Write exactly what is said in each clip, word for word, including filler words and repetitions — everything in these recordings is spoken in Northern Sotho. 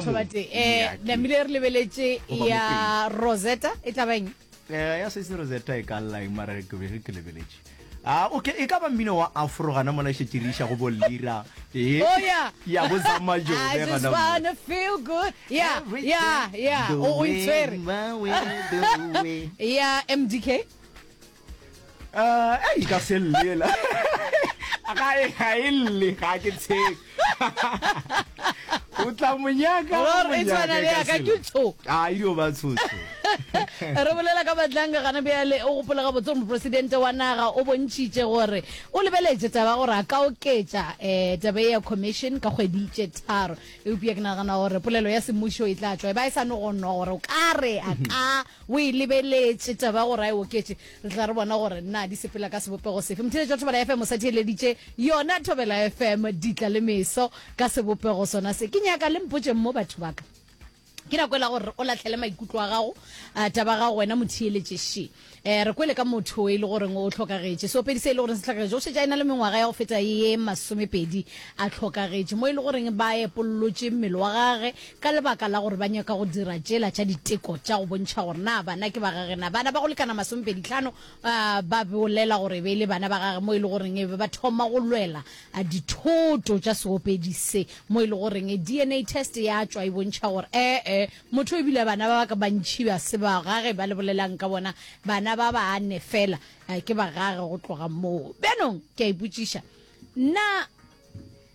batho mo. ba teng um Ya, ke- namile re lebeletše Goba ya Rosetta e tla beng. Eh, ya sese Rosetta e ka lla eng, mara ke be ge ke lebeletše. Ah, okay, e ka ba mmino wa afro gana mola e šetše re iša go bo Lira. Eh, Oh yeah. Ya bo I Zamajobe just gana mo. wanna feel good. Yeah, yeah, yeah. The O o way, itshwere. my way, the way. Ya M D K. Eh, ei, ka se llela. Ga e ga e lle, ga ke tshepe. O tla monyaka, o Lore e monyaka tshwana e le ka ya ka se ke lle. tsho. Ah, e dio ba tshotsho. Re bolela ka Madlanga gana bjale. O gopola gabotse gore mopresidente wa naga o bontšhitše gore o lebeletše taba gore a ka oketša um taba ye ya commission ka kgwedi tše tharo, eupša ke nagana gore polelo ya semmušo e tla tšwa e ba e sa no go nwa gore o ka re a ka o e lebeletše taba gore a e oketše. Re tla re bona gore na di sepela ka sebopego sefe. Motheletši wa Thobela F M, o sa theeleditše yona Thobela F M, ditla le meso ka sebopego sona se. Ke nyaka le mpotšeng mo, batho baka. Ke nako e la gore o latlhele maikutlo a gago, uh, taba gago wena motheeletše še. um re kwele ka motho e le goreng o tlhokagetše, seopedi se e le goreng se tlhokagetše, o šetše a ena le mengwaga ya go feta ye masomepedi a tlhokagetše, mo e le goreng ba epollotše mmele wa gage ka lebaka la gore ba nyaka go dira tšela tša diteko tša go bontšha gore na bana ke ba gage na. Bana ba go lekana masomepedi tlhano uh, ba bolela gore e be e le bana ba gage, mo e le goreng e be ba thoma go lwela uh, dithoto tša seopedi se, mo e le goreng D N A test ya tšwa e bontšha gore ee, motho ebile bana ba ba ka bantšhi ba se ba gage ba le bolelang ka bona, bana ba bane fela eh, ke ba gage. Go tloga moo bjanong ke a ipotšiša nna,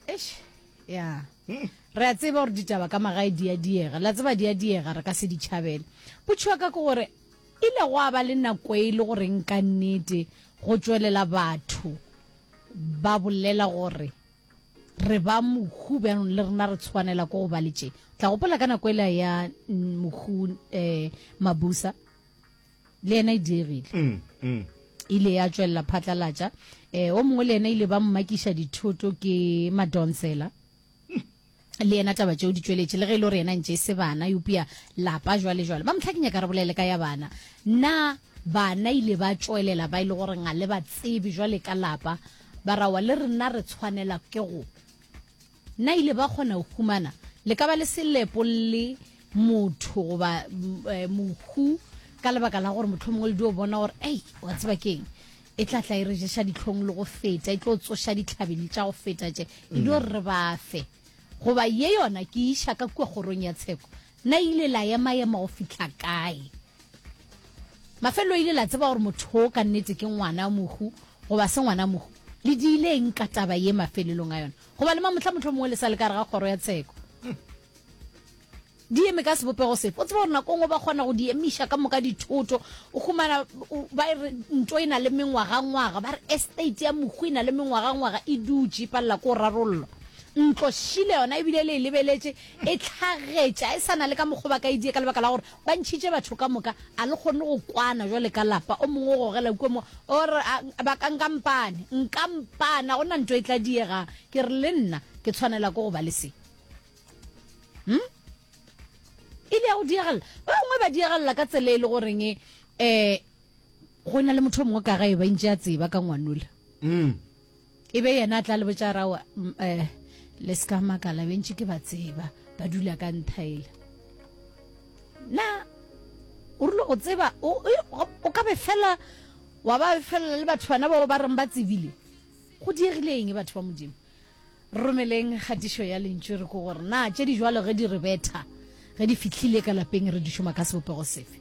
eish, ya re a tseba gore ditaba ka magae di a diega, la tseba di a diega, re ka se di tšhabele. Potšo ya ka ke gore ile go a ba le nako e le goreng ka nnete go tšwelela batho ba bolela gore re ba mohu bjanong le rena re tshwanela ko go ba le tše. Tla gopola ka nako ela ya mm, mohu um Mabusa, le yena e diegile, Mm, mm. ile ya tšwelela phatlalatša. um o mongwe le yena ile ba mmakiša dithoto ke Madonsela, le yena taba tšeo di tšweletše, le ge e le gore yena ntše e se bana, eupša lapa jwale jwale ba motlha. Ke nyaka re bolele ka ya bana. Na bana ile ba tšwelela ba e le gore ga le ba tsebe jwale ka lapa ba rawa le rena re tshwanela ke go na ile ba kgona go humana le ka ba le selepo le motho goba mm, eh, mohu, ka lebaka la gore motlho mongwe le dio bona gore ei, wa tseba keng, e tla tla e re ješa ditlhong le go feta, e tlo tsoša ditlhabedi tša go feta tše, e dio re ba fe goba ye yona ke iša ka kua kgorong ya tsheko. Na ile la ema-ema go fihla kae? Mafelelo ile la tseba gore motho o ka nnete ke ngwana mohu goba se ngwana mohu? Le diile eng ka taba ye mafelelong a yona, goba le mamotlha motlho mongwe le sa le ka re ga kgoro ya tsheko? Di eme ka sebopego sefe? O tseba gore nako nngwe ba kgona go di emiša ka moka dithoto, o humana o- ba re nto e na le mengwagangwaga, ba re estate ya mohu e na le mengwagangwaga e dutše e palela ko rarollwa. Ntlo šile yona ebile le e lebeletše e tlhagetša, e sa na le ka mokgwa ba ka e die, ka lebaka la gore ba ntšhitše batho ka moka, a le kgone go kwana jwale ka lapa. O mongwe o gogela kua mo o re a- ba ka nkampane nkampana go na ntho e tla diegang. Ke re le nna ke tshwanela ke go ba le se. hmm? Ile ya go diegelela, ba bangwe ba diegelela ka tsela e le goreng um go na le motho o mongwe ka gae ba ntše a tseba ka ngwanola, Mm. e be yena a tla le botša rawa um le se ka makala, bentše ke ba tseba ba dula ka nthaela. Na o rile go tseba o o- o ka be fela wa ba felela le batho bana bao ba reng ba tsebile? Go diegile eng, batho ba Modimo? Re romeleng kgatišo ya lentšu re ko gore na tše di jwalo ge di re betha, ge di fihlile ka lapeng, re di šoma ka sebopego sefe.